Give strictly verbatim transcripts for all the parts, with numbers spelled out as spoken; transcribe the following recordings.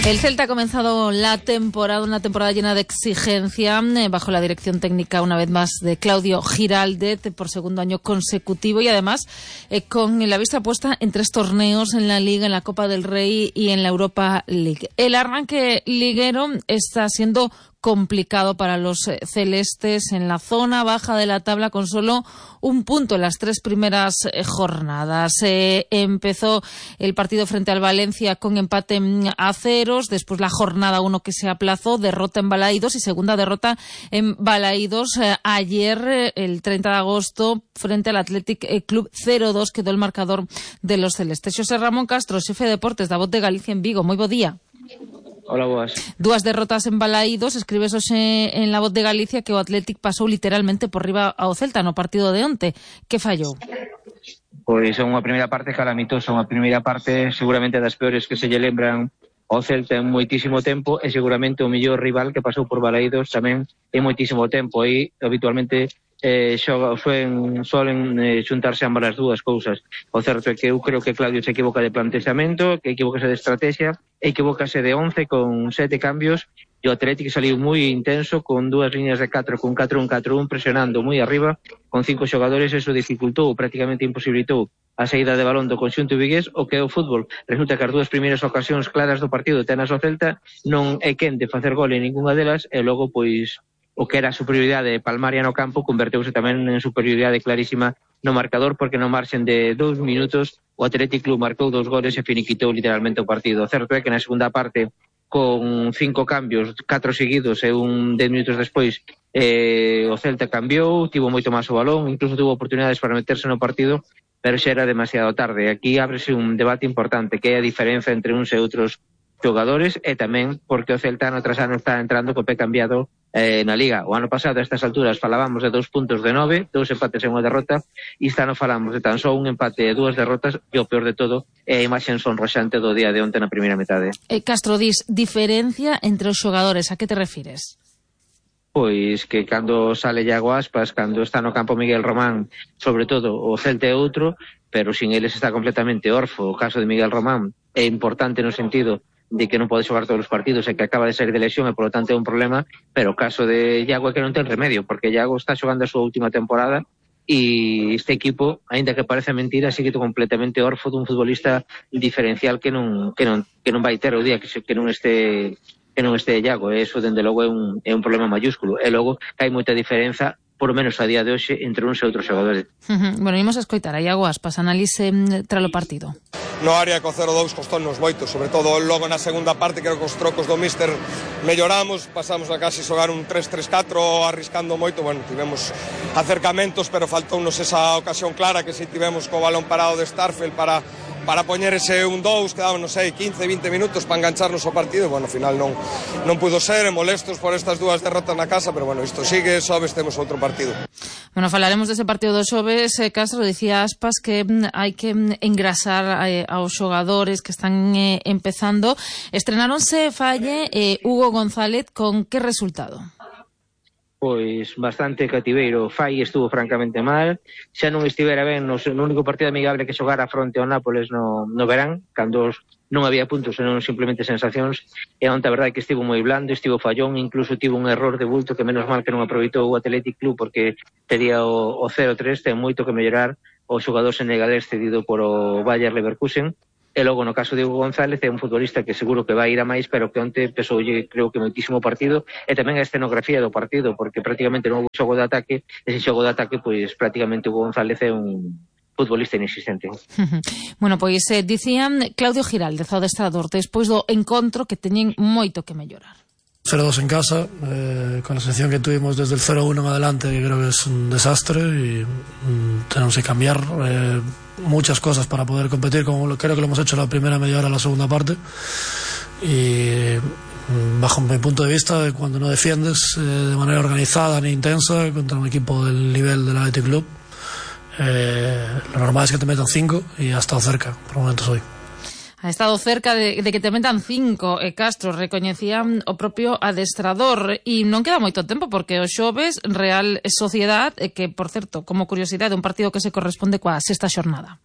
El Celta ha comenzado la temporada, una temporada llena de exigencia, eh, bajo la dirección técnica, una vez más, de Claudio Giraldez, por segundo año consecutivo, y además eh, con la vista puesta en tres torneos, en la Liga, en la Copa del Rey y en la Europa League. El arranque liguero está siendo complicado para los eh, celestes en la zona baja de la tabla, con solo un punto en las tres primeras eh, jornadas. Eh, empezó el partido frente al Valencia con empate a ceros, después la jornada uno que se aplazó, derrota en Balaídos y segunda derrota en Balaídos eh, ayer, eh, el treinta de agosto, frente al Athletic Club. Cero dos quedó el marcador de los celestes. José Ramón Castro, xefe de deportes da Voz de Galicia en Vigo. Moi bo día. Hola, boas. Dúas derrotas en Balaídos. Escribes hoxe en La Voz de Galicia que o Athletic pasou literalmente por riba ao Celta no partido de onte. Que fallou? Pois é unha primeira parte calamitosa, unha primeira parte seguramente das peores que se lle lembran ao Celta en moitísimo tempo, e seguramente o mellor rival que pasou por Balaídos tamén en moitísimo tempo. E habitualmente eh, xoga, suelen, suelen eh, xuntarse ambas as dúas cousas. O certo é que eu creo que Claudio se equivoca de plantexamento, que equivocase de estrategia, e equivocase de once con sete cambios, e o Atlético saliu moi intenso con dúas líneas de catro, con catro un catro un, presionando moi arriba con cinco xogadores. Eso dificultou, prácticamente imposibilitou a saída de balón do conxunto vigués. O que é o fútbol, resulta que as dúas primeiras ocasións claras do partido tenas o Celta, non é quen de facer gol en ninguna delas, e logo pois o que era a superioridade palmaria no campo converteuse tamén en superioridade clarísima no marcador, porque no marxen de dous minutos o Athletic Club marcou dous goles e finiquitou literalmente o partido. O certo é que na segunda parte, con cinco cambios, catro seguidos e un dez minutos despois, eh, o Celta cambiou, tivo moito máis o balón, incluso tivo oportunidades para meterse no partido, pero xa era demasiado tarde. Aquí ábrese un debate importante, que é a diferenza entre uns e outros xogadores, e tamén porque o Celta ano tras ano está entrando co pé cambiado eh, na Liga. O ano pasado a estas alturas falábamos de dous puntos de nove, dous empates e unha derrota, e esta ano falamos de tan só un empate e dúas derrotas, e o peor de todo é a imaxe sonroxante do día de onte na primeira metade. Eh, Castro, dis, diferencia entre os xogadores, a que te refires? Pois que cando sale Iago Aspas, cando está no campo Miguel Román, sobre todo o Celta é outro, pero sin eles está completamente orfo. O caso de Miguel Román é importante no sentido de que non pode xogar todos os partidos e que acaba de sair de lesión, e polo tanto é un problema, pero o caso de Iago é que non ten remedio, porque Iago está xogando a súa última temporada, e este equipo, aínda que parece mentira, sigue completamente orfo dun futbolista diferencial que non que non que non vai ter o día que, se, que non este que non este Iago. E eso, dende logo, é un, é un problema mayúsculo. E logo hai moita diferenza, por menos a día de hoxe, entre uns e outros xogadores. Uh-huh. Bueno, imos a escoitar a Iago Aspas, analice tras o partido. No área co cero dous costónnos moito, sobre todo logo na segunda parte, creo que os trocos do míster melloramos, pasamos a casi xogar un tres tres catro arriscando moito. Bueno, tivemos acercamentos, pero faltounos esa ocasión clara, que si tivemos co balón parado de Starfelt para para poñer ese un dous, quedaban, non sei, quince, vinte minutos para engancharnos ao partido. Bueno, ao final non non pudo ser, e molestos por estas dúas derrotas na casa, pero bueno, isto sigue, sobes temos outro partido. Bueno, falaremos dese partido do xoves. eh, Castro, dicía Aspas que mm, hai que mm, engrasar eh, aos xogadores que están eh, empezando. Estrenáronse Falle e eh, Hugo González, con que resultado? Pois bastante cativeiro. Fai estuvo francamente mal, xa non estivera ben no, no único partido amigable que xogara fronte ao Nápoles no, no verán, cando non había puntos, senón simplemente sensacións, e onte a verdade que estivo moi blando, estivo fallón, incluso tivo un error de bulto que menos mal que non aproveitou o Athletic Club, porque tería o, o cero tres, ten moito que mellorar o xogador senegalés cedido por o Bayer Leverkusen. E logo, no caso de Hugo González, é un futbolista que seguro que vai ir a máis, pero que onte pesoulle, creo que, moitísimo partido, e tamén a escenografía do partido, porque prácticamente non houve xogo de ataque. Ese xogo de ataque, pois prácticamente Hugo González é un futbolista inexistente. Bueno, pois eh, dicían Claudio Giraldez, o adestrador, despois do encontro, que teñen moito que mellorar. cero dos en casa, eh, con la selección que tuvimos desde el cero uno en adelante, que creo que es un desastre, y mm, tenemos que cambiar eh, muchas cosas para poder competir, como lo, creo que lo hemos hecho la primera media hora, la segunda parte, y mm, bajo mi punto de vista, cuando no defiendes eh, de manera organizada ni intensa contra un equipo del nivel del Athletic Club, eh, lo normal es que te metan cinco, y ha estado cerca, por momentos hoy. Ha estado cerca de, de que te metan cinco, e Castro recoñecía o propio adestrador, e non queda moito tempo, porque o xoves Real Sociedad, que, por certo, como curiosidade, un partido que se corresponde coa sexta xornada.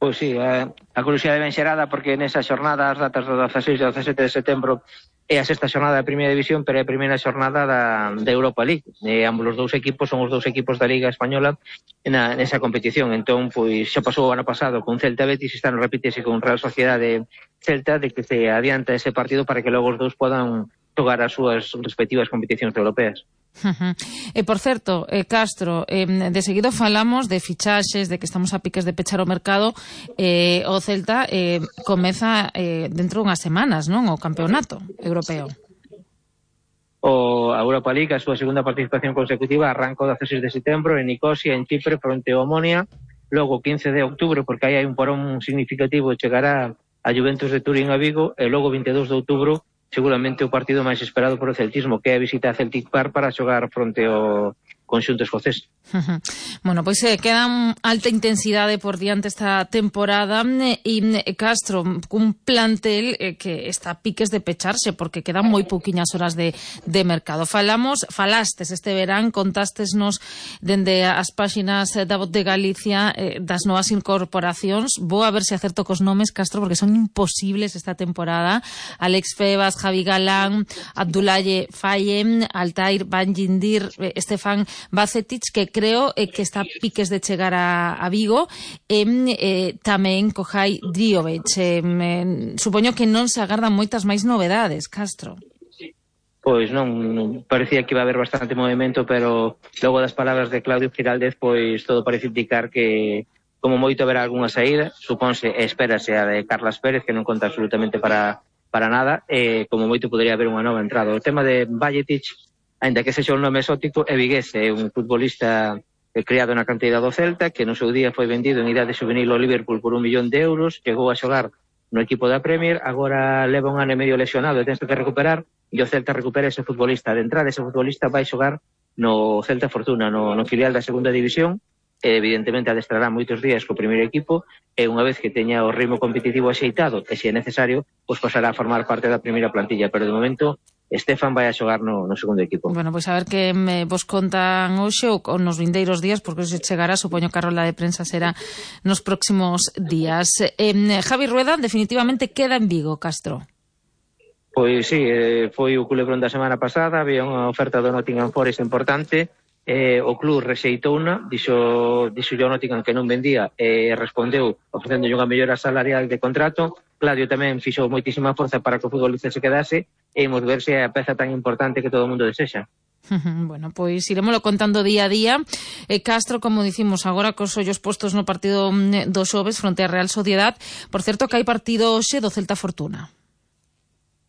Pois sí, a, a curiosidade ben xerada porque nesa xornada as datas do dezaseis e dezasete de setembro é a sexta xornada da primeira división, pero é a primeira xornada da, da Europa League. E ambos os dous equipos son os dous equipos da Liga Española na, nesa competición. Entón, pois xa pasou o ano pasado con Celta Betis, está no repítese con Real Sociedade Celta, de que se adianta ese partido para que logo os dous podan tocar as súas respectivas competicións europeas. Uh-huh. E, por certo, eh, Castro, eh, de seguido falamos de fichaxes, de que estamos a piques de pechar o mercado. eh, o Celta eh, comeza eh, dentro de unhas semanas, non? O campeonato europeo. O a Europa League, a súa segunda participación consecutiva, arranca o dezaseis de setembro en Nicosia, en Chipre, fronte ao Omonia. Logo, quince de outubro, porque aí hai un porón significativo, chegará a Juventus de Turín a Vigo, e logo vinte e dous de outubro seguramente o partido máis esperado por o celtismo, que é a visita a Celtic Park para xogar fronte ao conxunto escocés. Uh-huh. Bueno, pois eh, queda alta intensidade por diante esta temporada e eh, Castro, cun plantel eh, que está a piques de pecharse porque quedan moi pouquiñas horas de, de mercado. Falamos, falastes este verán, contástesnos dende as páxinas da Voz de Galicia eh, das novas incorporacións. Vou a ver se acerto cos nomes, Castro, porque son imposibles esta temporada. Alex Febas, Javi Galán, Abdoulaye Faye, Altair Banjindir, eh, Estefan Bacetic, que creo eh, que está a piques de chegar a, a Vigo, e eh, tamén Kohai Driovic. Eh, eh, supoño que non se agardan moitas máis novedades, Castro. Pois non, non, parecía que iba a haber bastante movimento, pero logo das palabras de Claudio Giraldez, pois todo parece indicar que como moito haberá algunha saída, supónse e espérase a de Carlas Pérez, que non conta absolutamente para, para nada, e como moito podría haber unha nova entrada. O tema de Bajetic, ainda que sexa un nome exótico, é vigués, é un futbolista criado na cantidad do Celta, que no seu día foi vendido en idade juvenil ao Liverpool por un millón de euros, chegou a xogar no equipo da Premier, agora leva un ano e medio lesionado e tense que recuperar, e o Celta recupera ese futbolista. De entrada, ese futbolista vai xogar no Celta Fortuna, no, no filial da segunda división, e evidentemente adestrará moitos días co primeiro equipo, e unha vez que teña o ritmo competitivo axeitado, e se é necesario, pois pasará a formar parte da primeira plantilla, pero de momento Estefan vai a xogar no, no segundo equipo. Bueno, pois pues a ver que me vos contan hoxe ou nos vindeiros días, porque se chegará, supoño que a rola de prensa será nos próximos días. Eh, Javi Rueda definitivamente queda en Vigo, Castro. Pois sí, eh, foi o culebrón da semana pasada, había unha oferta do Nottingham Forest importante, eh, o club rexeitou unha, dixo, dixo yo Nottingham que non vendía, e eh, respondeu ofrecendo unha mellora salarial de contrato. Claudio tamén fixou moitísima forza para que o futbolista se quedase, e imos ver se é a peza tan importante que todo o mundo desexa. Bueno, pois iremoslo contando día a día. eh, Castro, como dicimos agora, cos ollos postos no partido do xoves fronte a Real Sociedad. Por certo que hai partido hoxe do Celta Fortuna.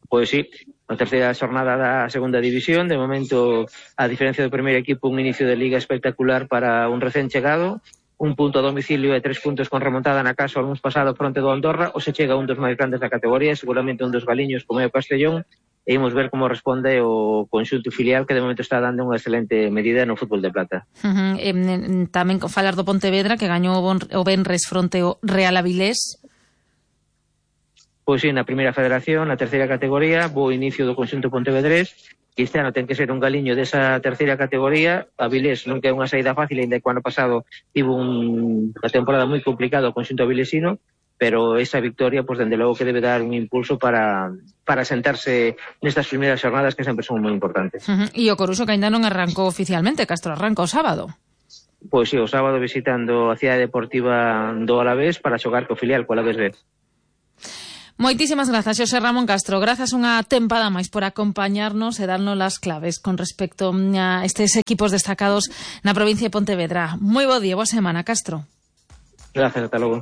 Pois sí, a terceira xornada da segunda división. De momento, a diferencia do primeiro equipo, un inicio de liga espectacular para un recén chegado. Un punto a domicilio e tres puntos con remontada na casa o algúns pasado fronte do Andorra, ou se chega un dos máis grandes da categoría, seguramente un dos galiños como é o Castellón, e imos ver como responde o conxunto filial, que de momento está dando unha excelente medida no fútbol de plata. Uh-huh. E, tamén falar do Pontevedra, que gañou o venres fronte ao Real Avilés. Pois sí, na primeira federación, na terceira categoría, bo inicio do conxunto pontevedrés. Este ano ten que ser un galiño desa terceira categoría. Avilés non que é unha saída fácil, ainda que o ano pasado tivo un, unha temporada moi complicada o conxunto avilesino, pero esa victoria, pois, dende logo que debe dar un impulso para, para sentarse nestas primeiras xornadas, que sempre son moi importantes. Uh-huh. E o Coruxo, que ainda non arrancou oficialmente, Castro, arranca o sábado. Pois sí, o sábado visitando a cidade deportiva do Alavés para xogar co filial, co Alavés B. Moitísimas grazas, Xosé Ramón Castro. Grazas unha tempada máis por acompañarnos e darnos as claves con respecto a estes equipos destacados na provincia de Pontevedra. Moi bo día, boa semana, Castro. Gracias, ata logo.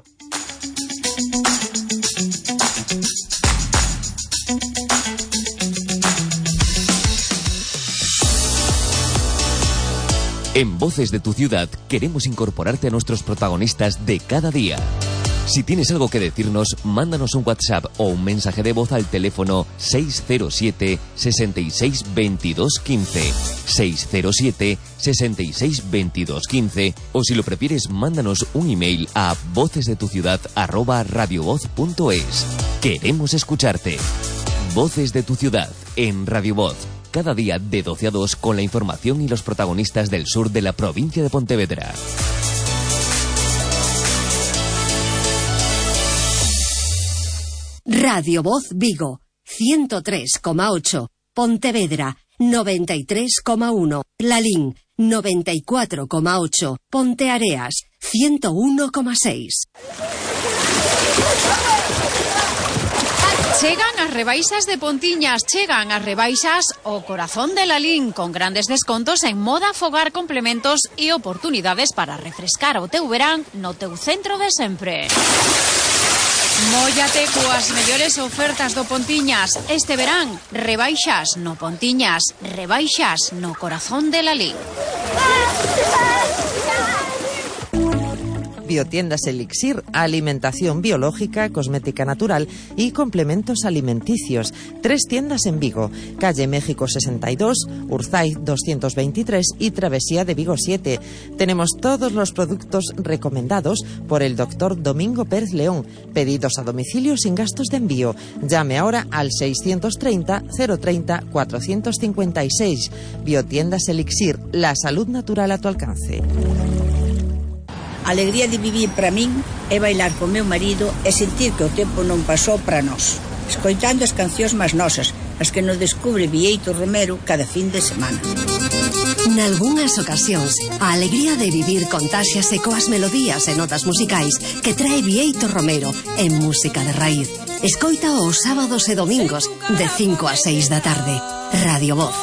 En Voces de tu Ciudad queremos incorporarte a nuestros protagonistas de cada día. Si tienes algo que decirnos, mándanos un WhatsApp o un mensaje de voz al teléfono seis cero siete, seis seis, veintidós, quince, seis cero siete, seis seis, veintidós, quince, o si lo prefieres, mándanos un email a vocesdetuciudad arroba radiovoz punto es. Queremos escucharte. Voces de tu Ciudad en Radio Voz. Cada día de doce a dos con la información y los protagonistas del sur de la provincia de Pontevedra. Radio Voz Vigo, ciento tres coma ocho. Pontevedra, noventa y tres coma uno. Lalín, noventa y cuatro coma ocho. Ponteareas, ciento uno coma seis. Chegan as rebaixas de Pontiñas, chegan as rebaixas o corazón de Lalín, con grandes descontos en moda, fogar, complementos e oportunidades para refrescar o teu verán no teu centro de sempre. Móllate coas mellores ofertas do Pontiñas. Este verán, rebaixas no Pontiñas, rebaixas no corazón de Lalín. Biotiendas Elixir, alimentación biológica, cosmética natural y complementos alimenticios. Tres tiendas en Vigo, calle México sesenta y dos, Urzay doscientos veintitrés y Travesía de Vigo siete. Tenemos todos los productos recomendados por el doctor Domingo Pérez León. Pedidos a domicilio sin gastos de envío. Llame ahora al seiscientos treinta, cero treinta, cuatrocientos cincuenta y seis. Biotiendas Elixir, la salud natural a tu alcance. A alegría de vivir para min é bailar con meu marido e sentir que o tempo non pasou para nós, escoitando as cancións máis nosas, as que nos descubre Bieito Romero cada fin de semana. Nalgúnas ocasións, a alegría de vivir contáxiase coas melodías e notas musicais que trae Bieito Romero en música de raíz. Escoita os sábados e domingos de cinco a seis da tarde. Radio Voz.